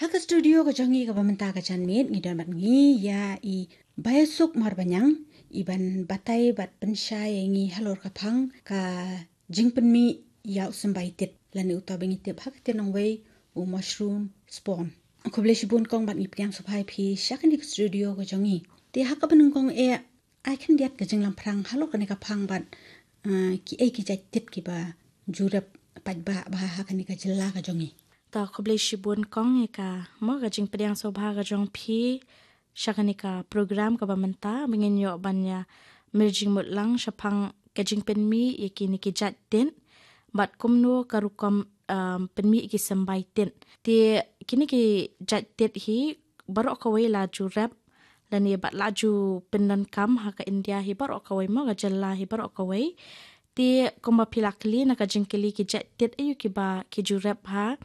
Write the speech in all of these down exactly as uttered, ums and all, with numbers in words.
Ha ka studio ka jong ngi kaba mynta ka janmiet ngi don bad ngi ïa i Baisuk Marbaniang, i ban batai bad pynshai ïa ngi halor ka phang ka jingpynmih ïa u symbai tit lane uta ba ngi tip ha ka ktien nongwei u mushroom spawn. Khublei shibun kong bad ngi pdiang sngewbha ïa phi sha kane ka studio ka jong ngi. Te ha kaba nyngkong eh, ai khyndiat ka jinglamphrang halor kane ka phang bad, ah, kiei ki jait tit kiba ju rep paidbah bha ha kane ka jylla ka jong ngi. Ta khublei shibun kong ïa ka mo ka jingpdiang sngewbha ka jong phi sha kane ka program kaba mynta ba ngin ïoh ban ïa mir jingmut lang shaphang ka jingpynmih ïa kine ki jait tit bad kumno ka rukom, um, pynmih ïa ki symbai tit. Te kine ki jait tit hi baroh kawei la ju rep lane bad la ju pyndonkam ha ka India hi baroh kawei mo ka jylla hi baroh kawei. Te kumba phi la kylli na ka jingkylli ki jait tit aïu kiba ki ju rep ha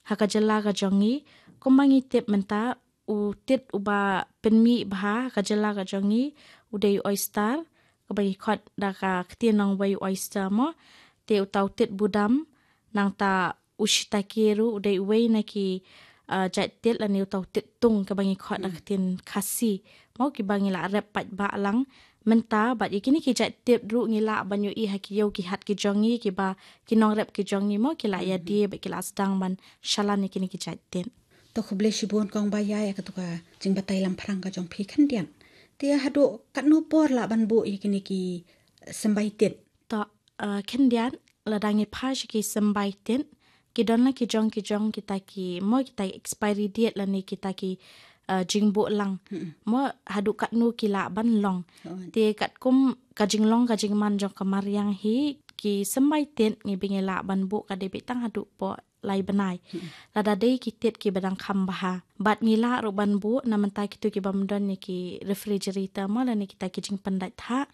ha ka jylla ka jong ngi. Kumba ngi tip mynta u tit uba pynmih bha ha ka jylla ka jong ngi u dei u oyster, kaba ngi khot da ka ktien nongwei u oyster mo. Te uta u tit budam, nangta u shiitake ruh u dei uwei na ki, ah, jait tit lane uta u tit tung kaba ngi khot da ka ktien Khasi mo, kiba ngi la rep paidbah lang mynta bad ïa kine ki jait tit ruh ngi lah ban ïohi ha ki ïew ki hat ki jong ngi kiba ki nongrep ki jong ngi mo ki la ïa die bad ki la sdang ban shalan ïa kine ki jait tit. To khublei shibun kong Baisuk ïa katu ka jingbatai lamphrang ka jong phi khyndiat. Te haduh katno por lah ban buh ïa kine ki symbai tit? To, uh, khyndiat lada ngi phai sha ki symbai tit ki don la ki jong ki jong kita ki mo kita expiry date lane kita ki, uh, jingbuh lang. Mo haduh katno ki lah ban long. Te katkum ka jinglong ka jingman jong ka mariang hi ki symbai tit ngi ba ngi lah ban buh ka dei beit tang haduh por lai bnai. Lada dei ki tit kiba dang kham bha bad ngi lah ruh ban buh na mynta kitu kiba ym don ïa ki refrigerator mo lane kita ki jingpyndait thah.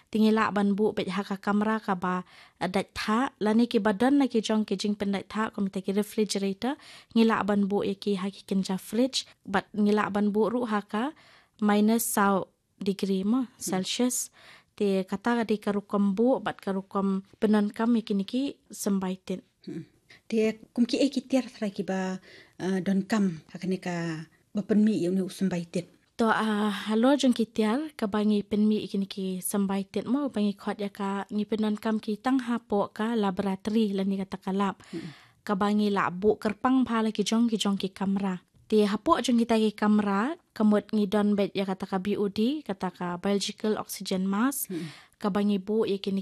Te ngi lah ban buh beit ha ka kamra kaba, eh, dait thah lane kiba don la ki jong ki jingpyndait thah kum kita ki refrigerator, ngi lah ban buh ïa ki ha ki kynja fridge bad ngi lah ban buh ruh ha ka minus saw degree mo Celsius. Te kata ka dei ka rukom buh bad ka rukom pyndonkam ïa kine ki symbai tit. Te kum kiei ki tiar trai kiba, uh, donkam ha kane kaba pynmih ïa une u symbai tit? To, uh, halor jong ki tiar kaba ngi pynmih ïa kine ki symbai tit mo ba ngi khot ïa ka ngi pyndonkam ki tang hapoh ka laboratory lane kata ka lab. Kaba ngi lah buh kyrpang bha la ki jong ki jong ki kamra. Te hapoh jong kita ki kamra ka mut ngi don beit ïa kata ka B O D, kata ka biological oxygen mask, kaba ngi buh ïa kine